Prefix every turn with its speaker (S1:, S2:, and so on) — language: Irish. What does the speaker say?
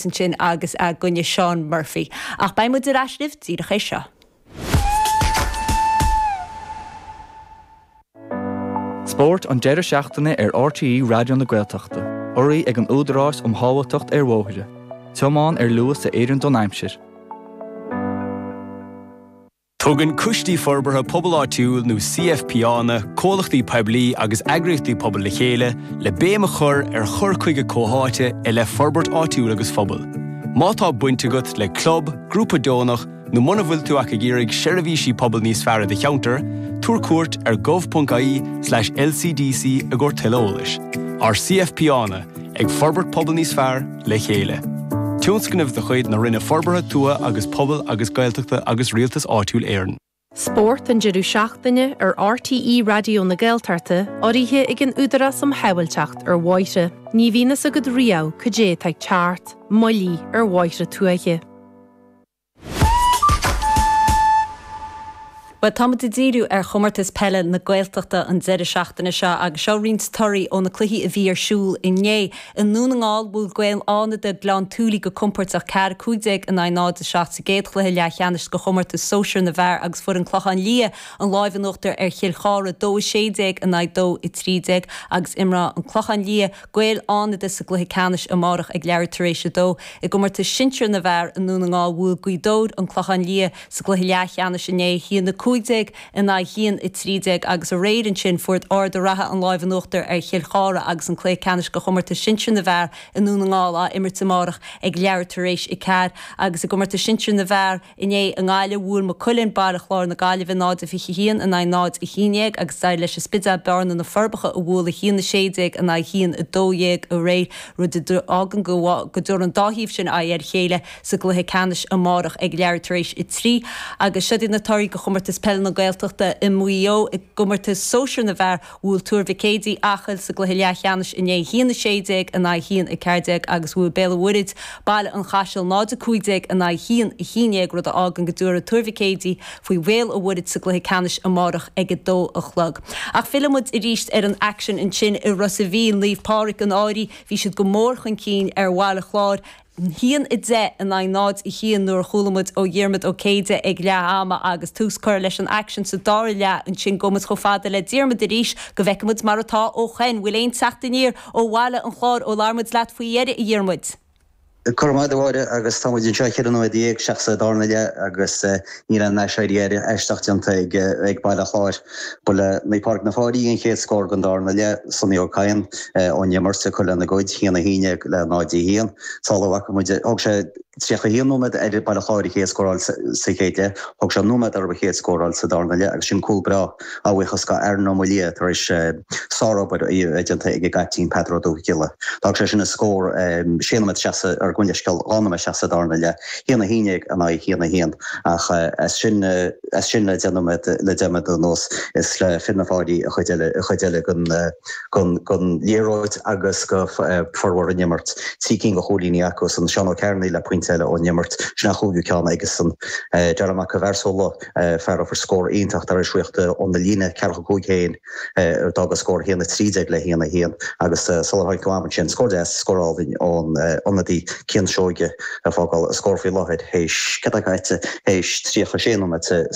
S1: imirt ansin agus i gcoinne Seán Murphy. Ach beidh muid ar ais libh díreach théis seo.
S2: Spórt an deireadh seachtaine ar RTÉ Raidió na Gaeltachta, urraithe ag an Údarás um Shábháilteacht ar Bhóithre. Tiomáin ar luas a oireann don aimsir.
S3: Tugann Coistí Forbartha Pobail Áitiúil nó CFPÁanna comhlachtaí poiblí agus eagraíochtaí pobail le chéile le béim a chur ar chur chuige comhtháite i leith forbairt áitiúil agus phobail. Má tá baint agat le club, grúpa deonach nó muna bhfuil tú ach ag iarraidh seirbhísí pobail níos fearr i do cheantar, tabhair cuairt ar gov.ie/lcdc i gcomhair tuilleadh eolais. Ár CFPÁanna, ag forbairt pobal níos fearr le chéile. Tionscnamh de chuid na Roinne Forbartha Tuaithe agus Pobail agus Gaeltachta agus Rialtas Áitiúil Éireann.
S4: Spórt an deireadh seachtaine ar RTÉ Raidió na Gaeltachta, urraithe ag an Údarás um Shábháilteacht ar Bhóithre. Ní bhíonn fhios agat riamh cad é atá ag teacht, moillí ar bhóithre tuaithe.
S1: Bhuel, tá muid ag díriú ar Chomórtas Peile na Gaeltachta an deireadh seachtaine seo agus seo roinnt torthaí ó na cluichí a bhí ar siúl inné. I nDún na nGall, bhuail Gaeil Fhánada Gleann tSúilí go compóirteach 4, 15 in aghaidh 0, 7 sa gcéad chluiche leathcheannais de chomórtas sóisir na bhfear agus fuair an Clochán Liath an láimh in uachtar ar Chill Chartha 2, 16 in aghaidh 2, 13 agus imreoidh an Clochán Liath Gaeil Fhánada sa gcluiche ceannais amárach ag leathuair tar éis a dó. I gcomórtas sinsir na bhfear i nDún na nGall bhuail Gaoth Dobhair an Clochán Liath sa gcluiche leathcheannais inné, 1-15 in aghaidh 1-13 agus aréir ansin fuair Ard a' Ratha an láimh in uachtar ar Chill Chartha agus an cluiche ceannais de chomórtas sinsir na bhfear i nDún na nGall á imirt amárach ag leathuair tar éis a ceathair agus i gcomórtas sinsir na bhfear Inné i nGaillimh, bhuail Maigh Cuilinn, Baile Chláir na Gaillimhe 0-21 in aghaidh 0-11 agus d'éirigh leis an Spidéal Bearna na Forbacha a bhualadh 1-16 in aghaidh 1-12 aréir, rud a d'fhágann go dtabharfaidh an dá thaobh sin aghaidh ar a chéile sa gcluiche ceannais amárach ag leathuair tar éis a 3. Agus seo iad na torthaí do Chomórtas Peile na Gaeltachta i Maigh Eo. I gcomórtas sóisir na bhfear, Bhuail Tuar Mhic Éadaigh Acaill sa gcluiche leathcheannais inné 1-16 in aghaidh 1-14 agus bhuail Béal an Mhuirthead Baile an Chaisil 0-15 in aghaidh 1-11 rud a fhágann go dtabharfaidh Tuar Mhic Éadaigh faoi Bhéal an Mhuirthead sa gcluiche ceannais amárach ag 2 a chlog. Ach filleann muid arís ar an aicsean ansin i Ros a' Mhíl, Naomh Pádraig an Fhairche, bhí siad go mór chun cinn ar Bhaile Chláir, 1-10 in aghaidh 0-1 nuair a chuala muid ó Dhiarmaid Ó Céide ag leath ama agus tús curtha leis an aicsean sa dara leath ansin. Gabhfaidh muid chomh fada le Diarmaid arís go bhfeicfidh muid mar atá ó shoin. Bhfuil aon teacht aniar ó Bhaile an Chláir ó labhair muid leat faoi dheireadh, a Dhiarmuid?
S5: Go raibh maith agat a Mháire agus tá muid anseo 14 nóiméad isteach sa darna leath agus níl aon aiséirí aisteach déanta ag Baile an Chláir. Ba le Naomh Pádraig na Fáirí an chéad scór den darna leath, Sonny Ó Cadhain ón imirt ag cur lena gcuid, 1-11 le 0-1. Sula bhfaca muid, thóg sé 31 nóiméad ar Baile Chláir a chéad scór a fháil sa chéad leath, thóg sé nóiméad orthu a chéad scór a fháil sa darna leath agus sin cúl breá a bhuíochas go Aaron Ó Maoildhia tar éis sárobair a bheith déanta ag an gcaiptín Peadar Ó Dúthghiolla. D'fhág sé sin an scór sé nóiméad isteach sa, ar gabh mo leithscéal, 2 nóiméad isteach sa darna leath, 1-11 in aghaidh 1-1 ach as sin, as sin le 10 nóiméad, le 10 nóiméad anuas is le fir na Fáirí an chuid eile, an chuid eile den, den, den liathróid agus go formhór an imirt. Trí cinn de chúilíní acusan, Seán Ó Cearnaigh le pointe eile ón imirt, sin a chúigiú ceann aigesan. Darragh Mac an Bhearsóla, fear a fuair scór iontach tar éis rith óna líne ceathracha cúig féin, d'fhág an scór 1-13 le 1-1 agus sular tháinig go am ansin, scór deas, scór álainn ón ionadaí Cian Seoige ag fágáil an scór faoi láthair théis, cad é caite, théis 36 nóiméad.